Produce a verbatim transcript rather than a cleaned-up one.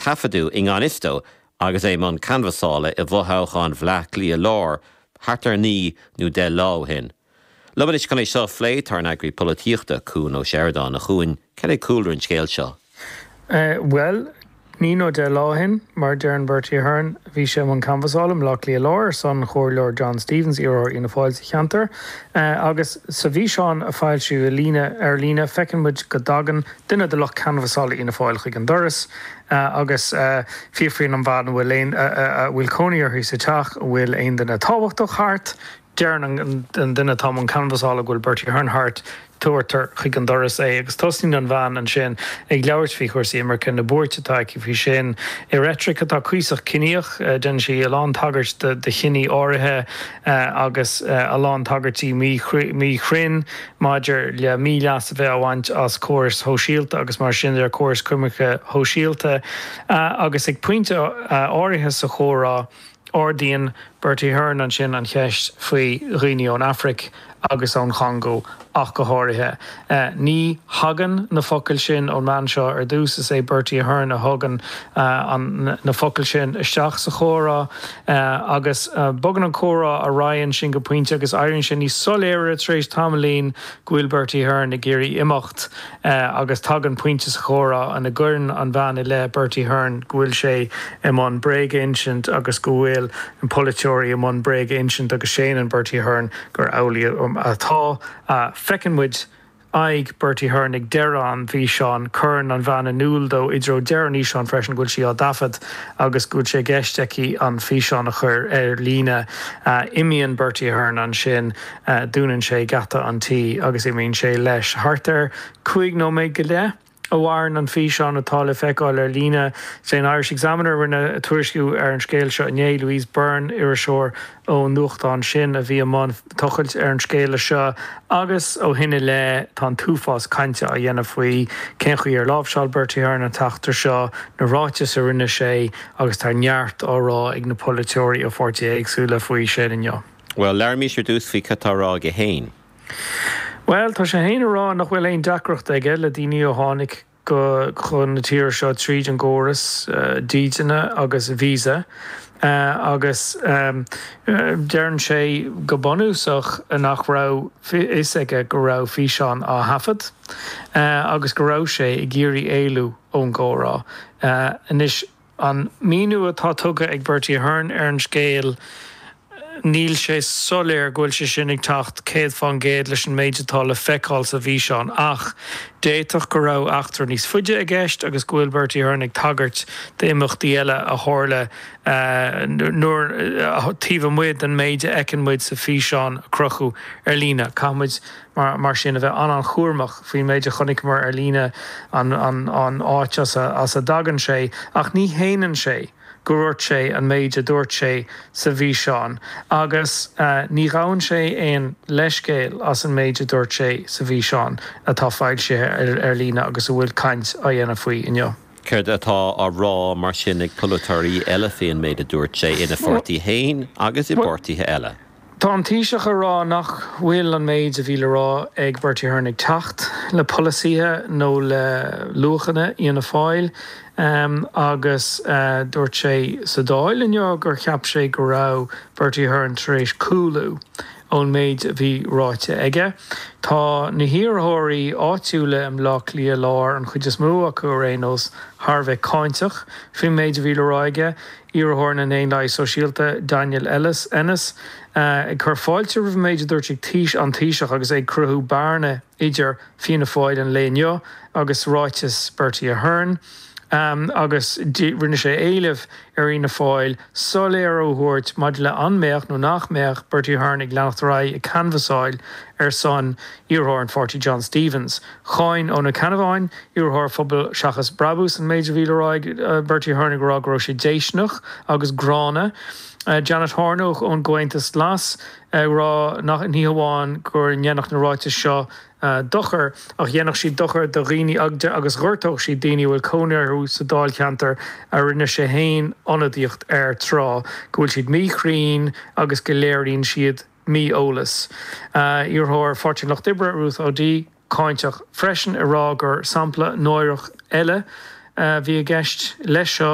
Taifeadadh i ngan fhios dó agus é i mbun canbhasála i bhfothoghchán Bhaile Átha Cliath Láir thart ar naoi nó deich lá ó shin. Liom anois chun é seo a phlé tá ár n-eagraí polaitíochta Cuan Ó Seireadáin. A Chuain, cad é cúlra an scéil seo? Bhuel, naoi nó deich lá ó shin, mar a deireann Bertie Ahern, bhí sé i mbun canbhasála i mBleá Cliath Láir ar son Chomhairleoir John Stephens, iarrthóir Fhianna Fáil sa cheantar. Agus sa bhfíseán a foilsíodh líne ar líne, feiceann muid go dtagann duine de lucht canbhasála Fhianna Fáil chuig an doras agus fiafraíonn an bhean a bhfuil aon a bhfuil cónaí uirthi sa teach an bhfuil aon duine tábhachtach thart. Deireann an duine atá i mbun canbhasála go bhfuil Bertie Ahern thart, tabhartar chuig an doras é agus tosnaíonn an bhean ansin ag labhairt faoi chúrsaí imirce, na buairt atá aici faoi sin, i reitric atá cuíosach ciníoch. Déanann sí a lán tagairt do chiní áirithe agus a lán tagairtí míchruinn maidir le míleas a bheith á bhaint as córais shóisialta agus mar sin de, córais coimirce shóisialta. Agus ag pointe áirithe sa chomhrá, Ardaíonn Bertie Ahern ansin an cheist faoi dhaoine ón Afraic agus ón Chongó ach go háirithe. Ní thagann na focail sin ón mbean seo ar dtús, is é Bertie Ahern a thugann na focail sin isteach sa chomhrá agus bogann an comhrá ar aghaidh ansin go pointe agus éiríonn sé níos soiléire tar éis tamaillín go bhfuil Bertie Ahern ag iarraidh imeacht agus tagann pointe sa chomhrá ina gcuireann an bhean i leith Bertie Ahern go bhfuil sé i mbun bréag a insint agus go bhfuil na polaiteoirí i mbun bréag a insint agus séanann Bertie Ahern gur amhlaidh atá. Feiceann muid aghaidh Bertie Ahern ag deireadh an fhíseáin. Cuireann an bhean in iúl dó i dtreo deireadh an fhíseáin freisin go bhfuil sí á dtaifead agus go bhfuil sé i gceist aici an físeán a chur ar líne. Imíonn Bertie Ahern ansin, dúnann sé geata an tí agus imíonn sé leis. Thart ar cúig nóiméad go leith a mhaireann an físeán atá le feiceáil ar líne. Is é an Irish Examiner a rinne tuairisciú ar an scéal seo inné, Louise Byrne, iriseoir ón nuachtán sin a bhí i mbun tochailt ar an scéala seo agus ó shin i leith tá an t-uafás cainte á dhéanamh faoi cén chaoi ar láimhseáil Bertie Ahern an t-eachtra seo, na ráitis a rinne sé agus tá neart á rá ag na polaiteoirí ó pháirtithe éagsúla faoi sin inniu. Bhuel, labhraímis ar dtús faoi cad tá á rá aige féin. Bhuel, tá sé féin ag rá nach bhfuil aon deacracht aige le daoine a tháinig go chun na tíre seo tríd an gcóras dídine agus visa agus deireann sé go bunúsach nach raibh fhios aige go raibh físeán á thaifead agus go raibh sé ag iarraidh éalú ón gcomhrá. Anois, an míniú atá tugtha ag Bertie Ahern ar an scéal, níl sé soiléir go bhfuil sé sin ag teacht céad fán gcéad leis an méid atá le feiceáil sa bhfíseán ach d'fhéadfadh go raibh eachtra níos faide i gceist agus go bhfuil Bertie Ahern ag tagairt d'imeachtaí eile a tharla nuair taobh amuigh den méid a fheiceann muid sa bhfíseán a crochadh ar líne. Caithfidh muid mar sin a bheith an-an-chúramach faoin méid a chonaiceamar ar líne, an an áit as a dtagann sé ach ní shéanann sé go ndúirt sé an méid a dúirt sé sa bhfíseán agus ní ghabhann sé aon leithscéal as an méid a dúirt sé sa bhfíseán atá foilsithe ar líne agus a bhfuil caint á dhéanamh faoi inniu. Céard atá á rá mar sin ag polaiteoirí eile faoin méid a dúirt sé ina pháirtí féin agus i bpáirtithe eile? Tá an Taoiseach ag rá nach bhfuil an méid a bhí le rá ag Bertie Ahern ag teacht le polasaithe nó le luachanna Fhianna Fáil agus dúirt sé sa Dáil inniu gur cheap sé go raibh Bertie Ahern tar éis cúlú ón méid a bhí ráite aige. Tá na hiarrthóirí áitiúla i mBleá Cliath Láir, an chuid is mó acu ar aon nós, thar a bheith cáinteach faoin méid a bhí le rá aige. Iarrthóir na nDaonlathaithe Sóisialta, Daniel Ellis, Ennis, ag cur fáilte roimh an méid a dúirt an Taoiseach agus é ag cruthú bearna idir Fianna Fáil an lae inniu agus ráiteas Bertie Ahern. Agus rinne sé éileamh ar Fhianna Fáil soiléiriú a thabhairt maidir le an mbeadh nó nach mbeadh Bertie Ahern ag leanacht ar aghaidh ag canbhasáil ar son iarrthóir an pháirtí John Stephens. Cháin Eoin Ó Ceannabháin, iarrthóir Phobal Seachas Brabús an méid a bhí le rá ag Bertie Ahern ag rá go raibh sé déistineach agus gránna. Janet Horne ón gComhaontas Glas ag rá nach ní hamháin go ndéanfadh na ráitis seo dochar ach dhéanfadh siad dochar do dhaoine agus ghortódh siad daoine a bhfuil cónaí orthu sa dáilcheantar a rinne sé féin ionadaíocht air tráth, go bhfuil siad míchruinn agus go léiríonn siad mí-eolas. Iarrthóir Pháirtí an Lucht Oibre, Ruth O'Dea, cáinteach freisin ag rá gur sampla náireach eile a bhí i gceist leis seo.